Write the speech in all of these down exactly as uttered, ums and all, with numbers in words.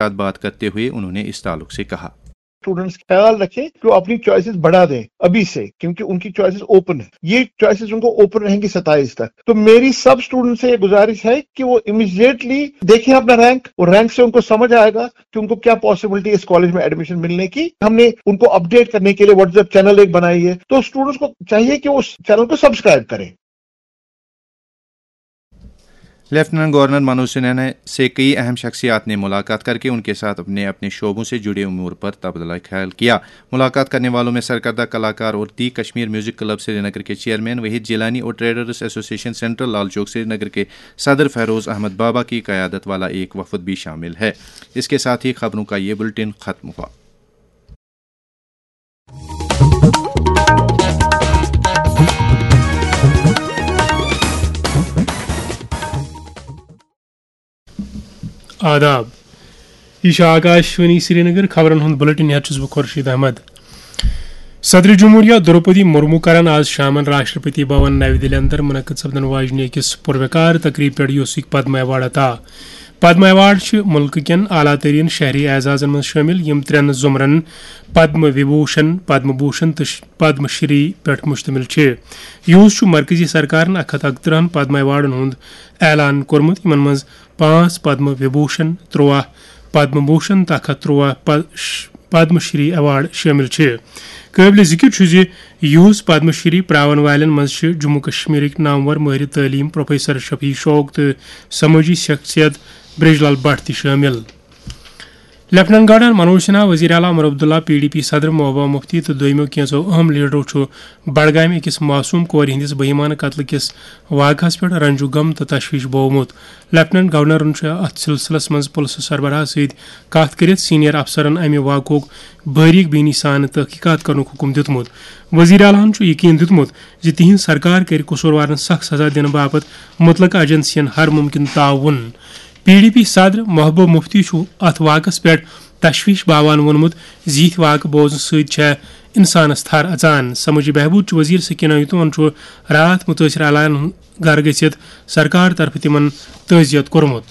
साथ बात करते हुए उन्होंने इस ताल्लुक से कहा। स्टूडेंट्स ख्याल रखें कि वो अपनी चॉइसेस बढ़ा दें अभी से, क्योंकि उनकी चॉइसेस ओपन है। ये चॉइसेस उनको ओपन रहेंगी सत्ताईस तक। तो मेरी सब स्टूडेंट्स से ये गुजारिश है कि वो इमिजिएटली देखें अपना रैंक, और रैंक से उनको समझ आएगा कि उनको क्या पॉसिबिलिटी इस कॉलेज में एडमिशन मिलने की। हमने उनको अपडेट करने के लिए व्हाट्सएप चैनल एक बनाई है, तो स्टूडेंट्स को चाहिए कि वो उस चैनल को सब्सक्राइब करें। लेफ्टिनेंट गवर्नर मनोज सिन्हा ने से कई अहम शख्सियात ने मुलाकात करके उनके साथ अपने अपने शोबों से जुड़े उमूर पर तबादला ख्याल किया। मुलाकात करने वालों में सरकर्दा कलाकार और दी कश्मीर म्यूजिक क्लब श्रीनगर के चेयरमैन वहीद जिलानी और traders association central Lal Chowk Srinagar के सदर फेरोज अहमद बाबा की क़यादत वाला एक वफद भी शामिल है। इसके साथ ही खबरों का ये बुलेटिन खत्म हुआ। آداب۔ یہ چھُ آکاش وانی سرینگر۔ خبرن ہُنٛد بلیٹن ہیتھ چھُس بہٕ خورشید احمد۔ صدر جمہوریہ دروپدی مرمو کرن آز شامن راشٹرپتی بھون نَوِ دِلہِ اندر منعقد سپدن واجنہِ أکِس پُروقار تقریب پٮ۪ٹھ، یُس یہِ پدم ایوارڈ عطا۔ پدم ایوارڈ چھِ مُلکہٕ کٮ۪ن اعلیٰ ترین شہری اعزازن منٛز شٲمِل، یِم ترٛٮ۪ن زُمرن، پدم وِبھوشن، پدم بھوشن تہٕ ش-، پدم شری، پٮ۪ٹھ مشتمل چھِ۔ یُہُس چھُ مرکزی سرکارن اکھ ہتھ اکترہن پدم ایوارڈن ہُنٛد اعلان کوٚرمُت، یِمن منٛز پانٛژھ پدم وِبھوشن، ترٛواہ پدم بھوشن تہٕ اکھ ہتھ ترٛواہ پ-، ش-، پدم شری ایوارڈ شٲمِل چھِ۔ قٲبلِ ذِکِر چھُ زِ یُہُس پدم شری پراون والٮ۪ن منٛز چھِ جموں کشمیرٕکۍ نامور مٲہرِ تعلیٖم پروفیسر شفیع شوق تہٕ سمٲجی شخصیت برج لال بٹ تہِ شٲمِل۔ لیفٹیننٹ گورنر منوج سنہا، وزیر اعلیٰ Omar Abdullah, P D P صدر محبوبہ مفتی تہٕ دویمو کینٛژو اہم لیڈرو چھُ بڈگامہِ أکِس معصوم کورِ ہٕنٛدِس بہیمانہٕ قتلہٕ کِس واقعس پٮ۪ٹھ رنجو غم تہٕ تشویش بوومُت۔ لیفٹیننٹ گورنرن چھُ اتھ سلسلس منٛز پُلسہٕ سربراہ سۭتۍ کتھ کٔرِتھ سینئر افسرن امہِ واقعُک باریک بینی سان تحقیقات کرنُک حکم دیُتمُت۔ وزیر اعلیٰ ہن چھُ یقین دیُتمُت زِ تِہنٛز سرکار کرِ قصوٗروارن سخت سزا دِنہٕ باپتھ مُتلقہٕ ایجنسین ہر ممکن تعاون۔ پی ڈی پی صدر محبوب مفتی چھُ اتھ واقعس پٮ۪ٹھ تشویش باوان ووٚنمُت زِ یِتھۍ واقعہٕ بوزنہٕ سۭتۍ چھےٚ انسانس تھر اژان۔ سمٲجی بہبود چہِ وزیر سکینہ یتون چھُ راتھ مُتٲثر علاقن ہُنٛد گرٕ گٔژھِتھ سرکار طرفہٕ تِمن تعزیت کوٚرمُت۔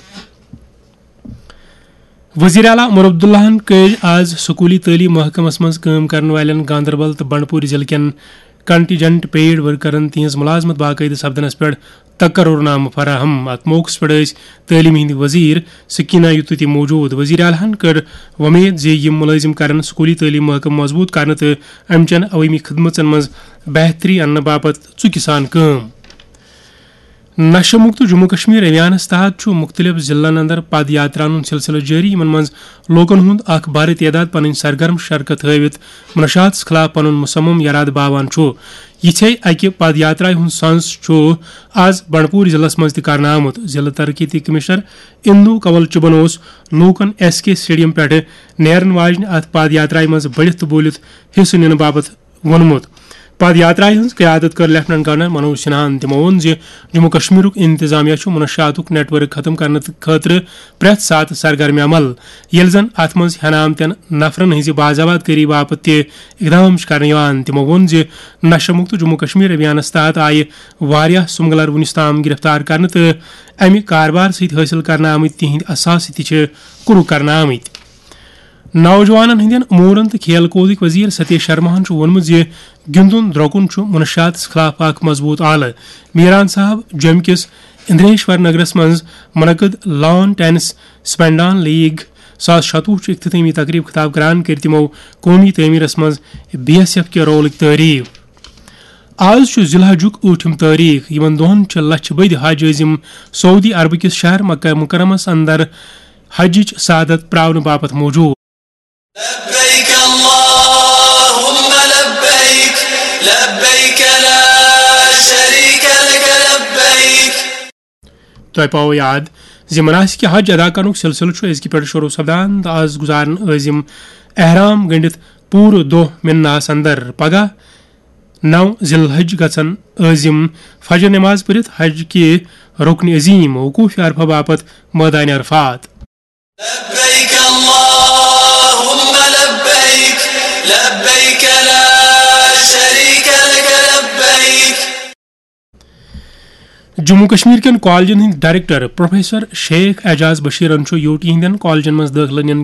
وزیر اعلیٰ عمر عبداللہن کٔرۍ آز سکوٗلی تعلیٖم محکمس منٛز کٲم کرن والٮ۪ن گاندربل تہٕ بنڈپور ضلعہٕ کٮ۪ن کنٹینجنٹ پیڈ ورکرن تِہنٛز ملازمت باقٲعدٕ سپدنس پٮ۪ٹھ تقرر نامہٕ فراہم۔ اتھ موقعس پٮ۪ٹھ ٲسۍ تعلیٖم ہٕنٛدۍ وزیر سکینہ یتو تہِ موجود۔ وزیر اعلیٰ ہن کٔر وۄمید زِ یِم مُلٲزِم کرن سکوٗلی تعلیٖم محکمہٕ مضبوٗط کرنہٕ تہٕ امہِ چٮ۪ن عوٲمی خدمژن منٛز بہتری اننہٕ باپتھ ژُکہِ سان کٲم۔ نشہ مکت جموں کشمیر ابھیانس تحت چھُ مُختٔلِف ضلعن اندر پد یاترا ہُنٛد سلسلہٕ جٲری، یِمن منٛز لوٗکن ہُنٛد اکھ بھرٕ تعداد پنٕنۍ سرگرم شرکت ہٲوِتھ منشیاتس خلاف پنُن مصمم یرادٕ باوان چھُ۔ یِتھے اکہِ پد یاترایہِ ہُنٛد سنز چھُ آز بنڈپور ضلعس منٛز تہِ کرنہٕ آمُت۔ ضلعہٕ ترقیتی کمشنر اندو کنول چُبن اوس لوٗکن ایس کے اسٹیڈیم پٮ۪ٹھٕ نیرن واجنہِ اتھ پد یاترایہِ منٛز بٔڑِتھ تہٕ بوٗلِتھ حصہٕ نِنہٕ باپتھ ووٚنمُت۔ پد یاترایہِ ہٕنٛز قیادت کٔر لیفٹیننٹ گورنر منوج سنہاہن۔ تِمو ووٚن زِ جموں کشمیرُک انتظامیہ چھُ منشیاتُک نیٹ ورک ختم کرنہٕ خٲطرٕ پرٛٮ۪تھ ساتہٕ سرگرم عمل، ییٚلہِ زن اتھ منٛز ہٮ۪نہٕ آمتٮ۪ن نفرن ہٕنٛزِ باضابطگی باپتھ تہِ اقدام چھُ کرنہٕ یِوان۔ تِمو ووٚن زِ نشہ مکت جموں کشمیر ابھیانس تحت آیہِ واریاہ سمگلر وُنیُس تام گرفتار کرنہٕ تہٕ امہِ کاربار سۭتۍ حٲصِل کرنہٕ آمٕتۍ تِہنٛدۍ اثاثہٕ تہِ چھِ کُرُک کرنہٕ آمٕتۍ۔ نوجوانن ہٕنٛدٮ۪ن امورن تہٕ کھیل کودٕکۍ وزیر ستیش شرماہن چھُ ووٚنمُت زِ گِنٛدُن درٛۄکُن چھُ منشیاتس خلاف اکھ مضبوٗط آلہٕ۔ میران صاحب جوٚمہِ کِس اندریشور نگرس منٛز منعقد لان ٹینس سپینڈان لیگ زٕ ساس شتوُہ چہِ افتتٲمی تقریب خطاب کران کٔرۍ تِمو قومی تعمیرس منٛز بی ایس ایف کہِ رولٕکۍ تعریف۔ آز چھُ ذی الحجُک ٲٹھِم تٲریخ۔ یِمن دۄہن چھِ لچھِ بٔدۍ حج عٲزِم سعودی عربہٕ کِس شہر مکہ مکرمس اندر حجٕچ سعادت پراونہٕ باپتھ موجود۔ لبيك اللهم لبيك، لبيك لا شريك لك لبيك۔ تۄہہِ پاوو یاد زِ مناسک حج ادا کرنُک سلسلہٕ چھُ أزکہِ پٮ۪ٹھ شروع سپدان تہٕ آز گُزارن عٲزِم احرام گٔنڈِتھ پوٗرٕ دۄہ مناہس اندر۔ پگاہ نو ذی الحج گژھن عٲزِم فجر نماز پٔرِتھ حج کہِ رُکنِ عظیٖم وقوف عرفہ باپتھ مٲدانِ عرفات۔ لبيك اللهم لبيك، لبيك لا شريك لك لبيك۔ جموں کشمیر کٮ۪ن کالجن ہٕنٛدۍ ڈائریکٹر پروفیسر شیخ اعجاز بشیرن چھُ یوٹی ہٕنٛدٮ۪ن کالجن منٛز دٲخلہٕ نِنہٕ